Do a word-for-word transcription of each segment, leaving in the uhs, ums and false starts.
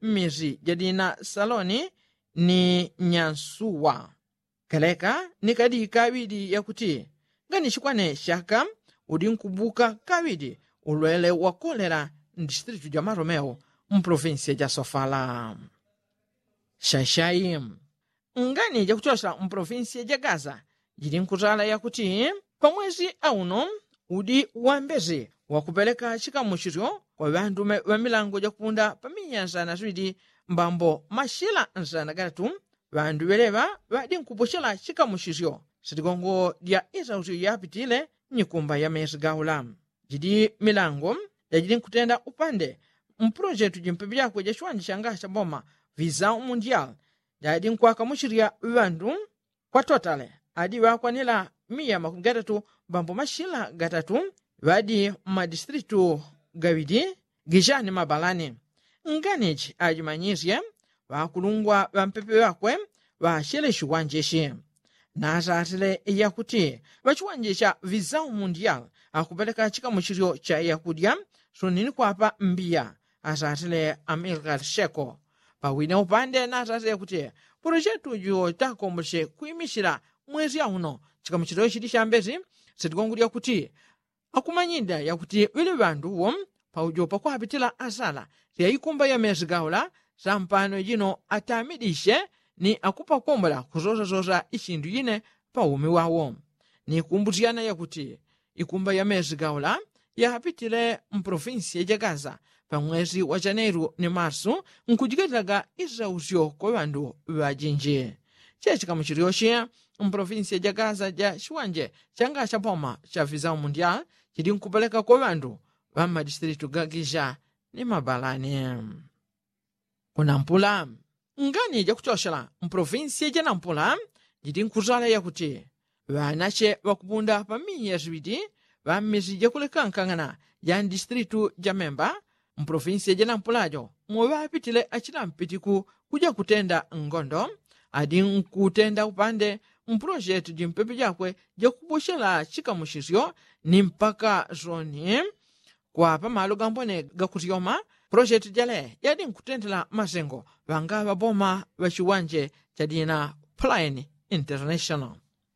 mmisi jadina saloni ni nyansuwa. Kaleka ni kadika aŵidi yakuti nganichikwane shaka udi nkubuka kaŵidi ulwele wa kolela mdistilitu ja maromeo mpolofinsiya ja sofala. Shashai ngani jakuchosela mpolofinsiya ja gaza jili nkutala yakuti pamwezi auno udi wambezi wakupeleka chikamuchisyo kwa ŵandume ŵa milango jakupunda pa minyanja na swidi mbambo mashila nsana gatatu ŵandu ŵeleŵa ŵadi nkupuchela chikamuchisyo sitigongo dya isausyo yapitile nyikumba ya mesi gaula. Jidi milango jajili nkutenda upande mpulojetu jimpepe jakwe ja chiwanja changa cha boma visau mundial jadi nkwakamuchilya ŵandu kwa totale adi ŵakwanila miya makumi gatatu mbambo mashila gatatu ŵadi mmadistilitu gaŵidi gishani mabalani. Nganichi ajimanyisye ŵakulungwa ŵampepe ŵakwe ŵashile chiwanje ichi nasatile yakuti ŵachiwanje cha visau mundial akupeleka chikamuchilyo cha yakudya sunini kwapa mbiya asatile amilkar sheko. Pawine upande nasatile kuti pulojetu jo takomboche kuimichila mwezi auno chikamuchilyo chili chambezi sitigongo dyakuti akumanyida yakuti ŵili ŵandu wo paujo pakwapitila asala lya ikumba ya mesi gaula sampano jino atamidishe ni akupakombola kusosasosa ichindu yine paumi wawo. Nikumbusyana yakuti ikumba ya mesi gaula yapitile mpolofinsiya ja gaza pamwesi wa chaneru ni marsu nkujiketilaga isausyo kwa ŵandu ŵajinji. Chechikamuchilyo chi mpolofinsiya ja gaza ja chiwanje changa cha boma cha visau mundial chili nkupeleka kwa ŵandu ŵa mmadistilitu ga gisha ni mabalani. Kunampula ngani jakuchochela mpolofinsiya ja nampula jili nkutala yakuti ŵanache ŵakupunda pa miya siŵidi ŵa mmisi jakulekankang'ana ja mdistilitu ja memba mpolofinsiya ja nampula jo moŵapitile achila mpitiku kuja kutenda ngondo adi nkutenda upande mpulojetu jimpepe jakwe jakubochela chikamuchisyo ni mpaka soni kwa pamalo gambone gakusyoma. Pulojetu jale yadi nkutendela masengo ŵanga ŵaboma ŵa chiwanje chadina plain international.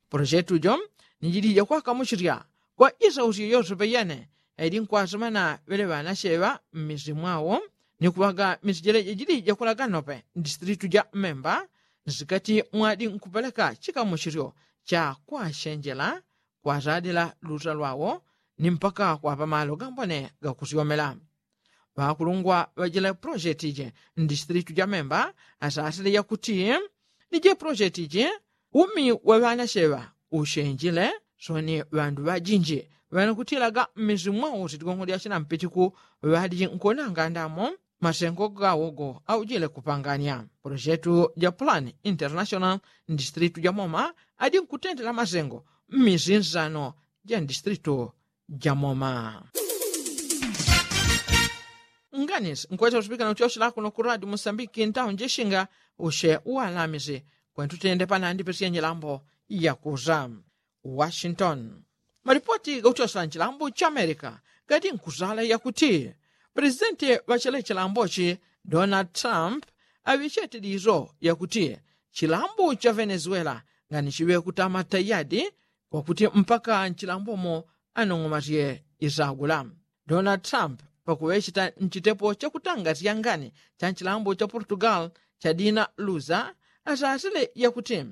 Pulojetu jo ni jili jakwakamuchilya kwa isausyo yose peyene yadi nkwasemana ŵele ŵanacheŵa mmisi mwawo ni kuŵaga misi jele jajili jakulaga nope mdistilitu ja memba nsikati mwadi nkupeleka chikamuchilyo cha kwachenjela kwatadila luta lwawo ni mpaka kwapa malo gambone gakusyomela. Ŵakulungwa ŵajila pulojeti je mdistilitu ja memba asasile yakuti ni je pulojeti je umi wa ŵanacheŵa ushenjile soni ŵandu ŵajinji ŵanakutilaga mmisi mwawo sitigongo lya chinampitiku ŵadi nkonanga ndamo masengo gawogo aujile kupanganya. Polojetu ja pulani international mdistilitu ja moma adi nkutendela masengo mmisi nsano ja mdistilitu ja moma. Nganisi nkwesa usipikana uchochela kuno ku radio musambiki ntawo njeshinga ushe uwalamisi kwentutende panandi pesya njilambo yakusa. Washington. Malipoti gakuchosela nchilambo cha amerika gadi nkuzala yakuti pulezidenti ŵa chele chilambochi donald trump aŵichete dizo yakuti chilambo cha venezuela ngani chiŵe kutama tayadi kwakuti mpaka nchilambomo anong'omasye isagula. Donald trump pakuŵecheta nchitepo chakutangasya ngani cha nchilambo cha portugal chadina luza asasile yakuti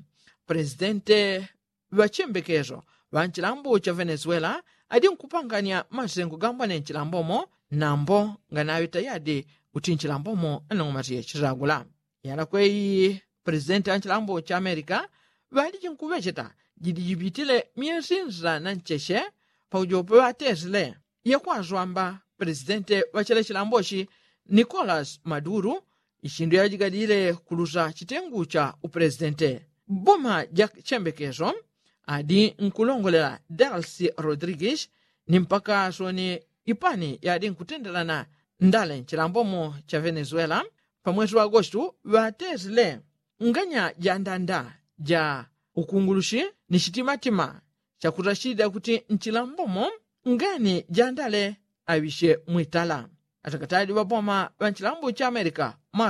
pulezidenti ŵachembekeso ŵa nchilambo cha venezuela adi nkupanganya masengo gambwane nchilambomo nambo nganaŵe tayadi kuti nchilambomo anong'omasye chisagula. Yalakweyi pulezidenti ŵa nchilambo cha amerika ŵadi chinkuŵecheta jidi jipitile myesi nsa na ncheche paujope ŵatesile yakwaswamba pulezidenti ŵa chele chilambochi nicolas maduru ichindu yajigadile kulusa chitengu cha upulezidenti. Boma ja chembekeso adi nkulongolela dalsi rodrigues ni mpaka soni ipani yadi nkutendelana ndale nchilambomo cha venezuela pamwesi wa agostu ŵatesile nganya ja ndanda ja ukungulushi ni chitimatima chakutachida kuti nchilambomo ngani ja ndale aŵishe mwitala. Atakatadi ŵaboma ŵa nchilambo cha amerika